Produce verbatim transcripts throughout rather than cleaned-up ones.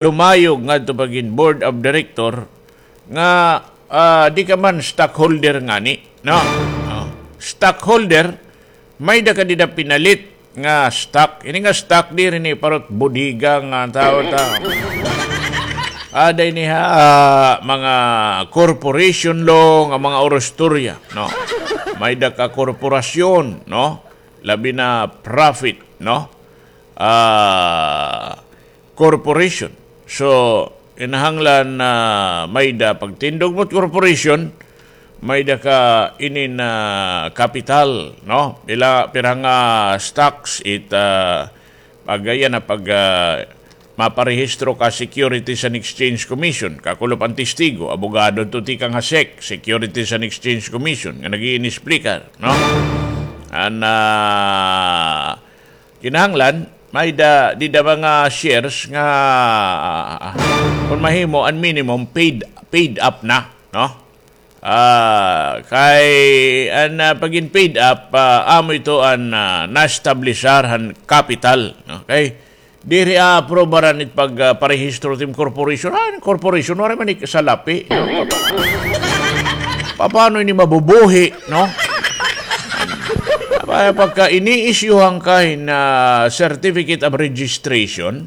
lumayog ngadto pagin board of director nga, ah, di ka man stockholder ngani, no? Oh. Stockholder, may-ada ka dida pinalit nga stock. Ini nga stock diri ni parot bodega nga tawo ta. Ada ini ha, ah, mga corporation law nga mga orostorya, no? May-ada ka korporasyon, no? Labi na profit, no? Ah, corporation. So, kinahanglan na may-ada pagtindog mo corporation, may-ada ka inin, ah, kapital, no? Pila, pira nga stocks it, ah, pag, ayan na pag, ah, maparehistro ka Securities and Exchange Commission, kakulop an testigo, abogado to tikang ha sec, Securities and Exchange Commission, nga nag-iinisplika, no? An, ah, kinahanglan, may-ada, dida mga shares nga, ah, kung mahimo, an minimum, paid, paid up na, no? Ah, kay, an, ah, pagin paid up, ah, amo ito an, ah, na-establishar han capital, no? Kay, diri, ah, aprobaran it pag, ah, parehistro tim corporation. Ah, corporation, waray man ik-, salapi, no? Paano ini mabubuhi, no? Kaya pagka ini-issue-han ka hin, ah, certificate of registration,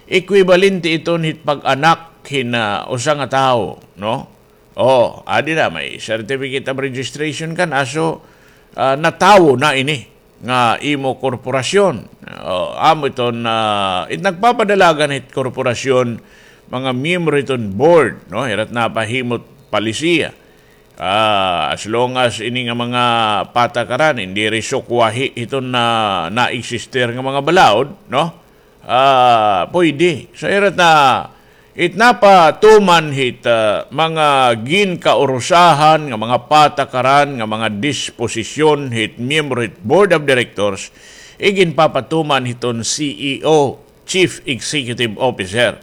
equivalente iton hit pag-anak hin, ah, usa nga tawo, no? Oh, adi na, may certificate of registration ka na, so, ah, natawo na ini nga imo korporasyon. Oh, amo iton, ah, it nagpapadalagan hit korporasyon, mga miyembro hiton board, no? Hira't napahimot palisiya. Ah, as long as ini nga mga patakaran, hindi rin sukwahi iton na, na-exister nga mga balaod, no? Ah, pwede. So, hira't na, it napatuman hit, ah, mga ginkaurusahan nga mga patakaran, nga mga disposisyon hit miyembro hit board of directors, iginpapatuman hiton C E O, Chief Executive Officer.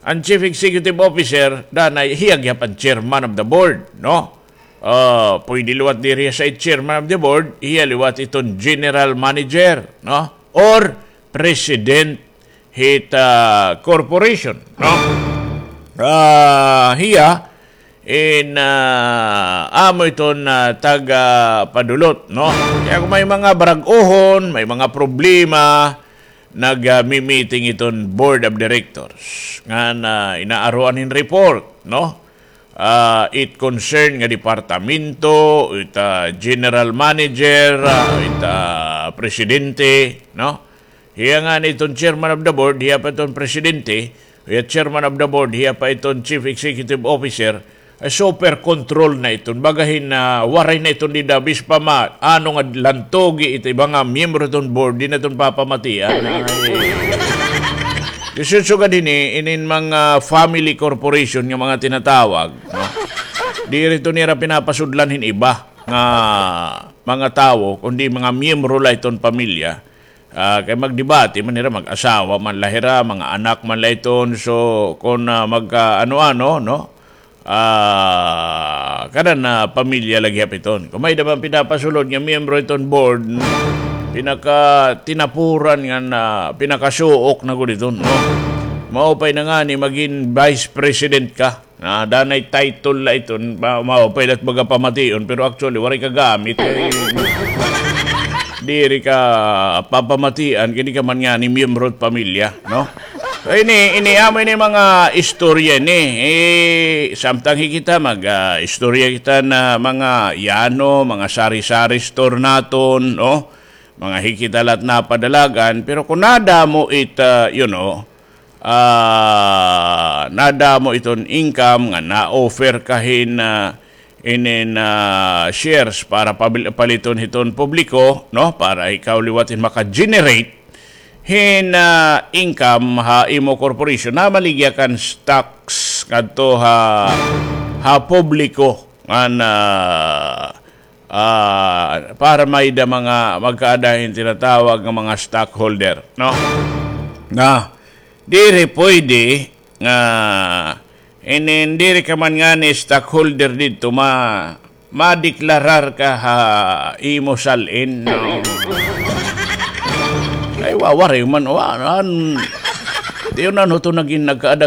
An Chief Executive Officer, danay hiya gihap an chairman of the board, no? Ah, pwede liwat diri sa chairman of the board, hiya liwat iton general manager, no? Or president hit, ah, corporation, no? Ah, hiya, in, ah, amo iton, ah, taga-padulot, no? Kaya kung may mga barag-ohon, may mga problema, nag, ah, mi-meeting iton board of directors. Ngan, ah, inaaruan hin report, no? Ah, it concern nga departamento, it, ah, general manager, ah, it, ah, presidente, no? Hiya ngani iton chairman of the board, hiya pa iton presidente, hiya chairman of the board, hiya pa iton chief executive officer, ay super control na iton. Baga hin, ah, waray na iton dida, bis pa ma, ano nga lantogi ito, iba nga miyembro iton board, di na iton papamatian. Ay. Di sugad hini, inin mga family corporation nga mga tinatawag, no? Diri iton nira pinapasudlan hin iba nga mga tawo, kundi mga miyembro la iton pamilya. Ah, kay magdebate man hira, mag-asawa man la hira, mga anak man la iton. So, kon, ah, magkaano-ano, no? Ah, kanan, ah, pamilya la gihap iton. Kon may-ada man pinapasulod nga miyembro iton board, pinakatinapuran nga na, pinakasuok na gud iton, no? Maupay na ngani magin vice president ka. Ah, danay title la iton, ma-, maupay la it baga pamation, pero actually, waray ka gamit. Kay, diri ka papamatian, kay di ka man ngani miyembro hit pamilya, no? So, ini, ini, amo ini mga istorya ini. Eh, samtang hi kita, mag, ah, istorya kita na mga yano, mga sari-sari store naton, no? Mga hi kita la it napadalagan, pero kon nadamo it, ah, you know, ah, nadamo iton income nga na-offer ka hin, ah, inin, ah, shares para pabil-, paliton hiton publiko, no? Para ikaw liwat hin maka-generate hin, ah, income ha imo corporation, namaligya kan stocks ngadto ha, ha publiko ngan, ah, para may-ada mga magkaada hin tinatawag nga mga stockholder, no? Na, diri pwede nga, inin, diri ka man ngani stockholder didto, ma-, madeklarar ka ha imo sal-in, no? Ay, wa-, waray man, wa-, an-, Tiyo-an ho to nagin nagkaada